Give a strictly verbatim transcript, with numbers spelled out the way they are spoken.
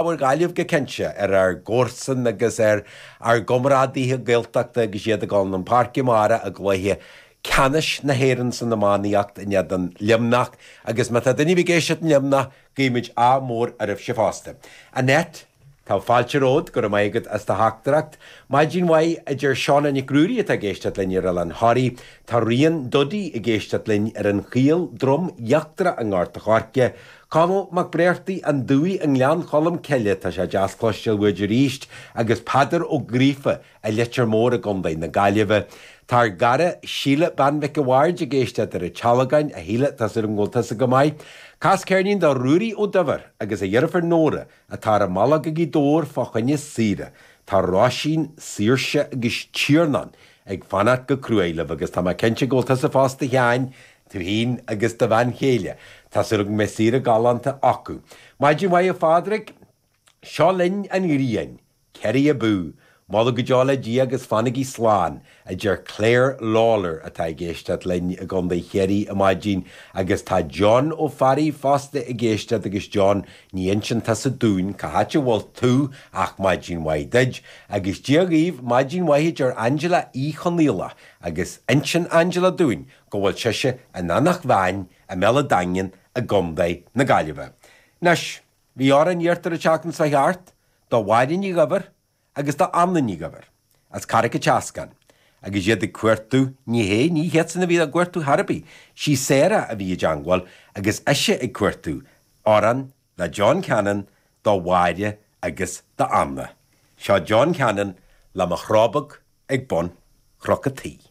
Bhur Gaillimh go cinnte ar ár gcomharsain agus ar ár gcomrádaithe Gaeltachta agus iad ag dul chun páirce amárach i gcluiche ceannais na hÉireann san iománaíocht in éadan Luimneach agus má tá duine ag éisteacht in Luimneach guímid ádh mór oraibhse fosta. Annette, Tá fáilte romhat go raibh maith agat as do theachtaireacht. Maidin mhaith a deir Seána Nic Ruairí atá ag éisteacht linn ar Oileán Thoraí, Tá Rian Duddy ag éisteacht linn ar an Chaol Droim Íochtarach i nGort an Choirce. Conall Mac Bréartaí an Dúi i nGleann Cholm Cille tá sé deas cloisteáil uait arís agus Peadar Ó Gríofa i Leitir Móir i gContae na Gaillimhe. Tá ár gcara Síle Bean Mhic a' Bhaird ag éisteacht ar an Tealgán a Shíle tá súil agam go bhfuil tusa go maith. Cas ceirnín do Ruairí Ó Duibhir agus a dheirfiúr Nóra atá ar a mbealach go Gaoth Dobhair fá choinne saoire. Tá Róisín, Saoirse agus Tiarnán ag fanacht go cruaidh libh agus tá mé cinnte go bhfuil tusa fosta Sheáin, tú féin agus do bhean chéile. Tá súil agam go mbeidh saoire galánta acu. Maidin mhaith a Phádraig, seo linn an ghrian, Kerry abú, Moladh go deo le Dia agus fanaigí slán, a deir Claire Lawler atá ag éisteacht linn i gContae Chiarraí ar maidin agus tá John Ó Fearraigh fosta ag éisteacht agus John ní inseann tusa dúinn cá háit a bhfuil tú ach maidin mhaith duit, agus Dia dhaoibh maidin mhaith a deir Angela Uí Chonaola agus insíonn Angela dúinn go bhfuil sise in Eanach Mheáin i mBéal an Daingin i gContae na Gaillimhe. Anois, bhí amhrán iarrta an tseachtain seo thart do Mháire Ní Dhuibhir agus do Anna Ní Dhuibhir as Carraig an tSeascáin, agus iad ag cuartú ní hé ní hiadsan a bhí á gcuartú ar bith, sí Sarah a bhí i dteagmháil agus ise ag cuartú amhrán le John Cannon do Mháire agus do Anna. Seo John Cannon le mo chrá beag ag bun Chnoc an Tí.